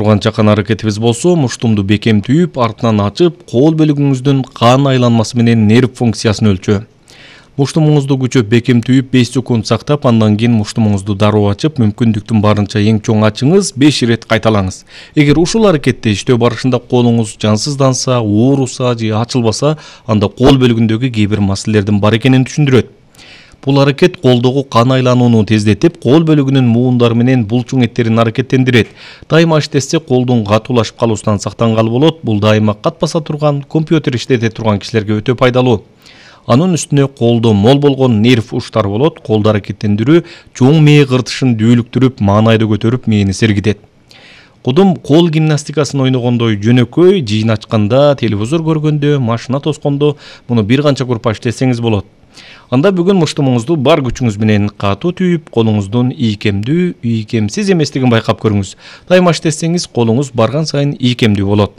Турган чакан аракетибиз болсо муштумду бекем түйүп, артынан ачып, кол бөлүгүңүздүн кан айланмасы менен нерв функциясын өлчөө. Муштумуңузду күчөп бекем түйүп 5 секунд сактап, андан кийин муштумуңузду дароо ачып, мүмкүндүктүн барынча эң чоң ачыңыз, 5 ирет кайталаңыз. Эгер ушул аракетти иштөө барышында колуңуз жансызданса, ооруса же ачылбаса, анда кол бөлүгүндөгү кээ бир маселелердин бар экенин түшүндүрөт. Бул аракет колдогу кан айланууну тездетип, кол бөлүгүнүн муундары менен булчуң эттерин аракеттендирет. Дайыма иштесе колдун катуулашып калуусунан сактангалы болот. Бул дайыма кат баса турган, компьютер иштете турган кишилерге өтө пайдалуу. Анын үстүнө колдо мол болгон нерв уштары болот. Колду аракеттендирүү чоң мээ кыртышын дүүлүктүрүп, маанайды көтөрүп, мээни сергитет. Кудум кол гимнастикасын ойногондой жөнөкөй, жыйын ачканда, телевизор көргөндө, машина тоскондо муну бир канча группа иштесеңиз болот. Анда бүгүн муштумуңузду бар күчүңүз менен катуу түйүп, колуңуздун ийкемдүү, ийкемсиз эместигин байкап көрүңүз. Дайыма иштесеңиз, колуңуз барган сайын ийкемдүү болот.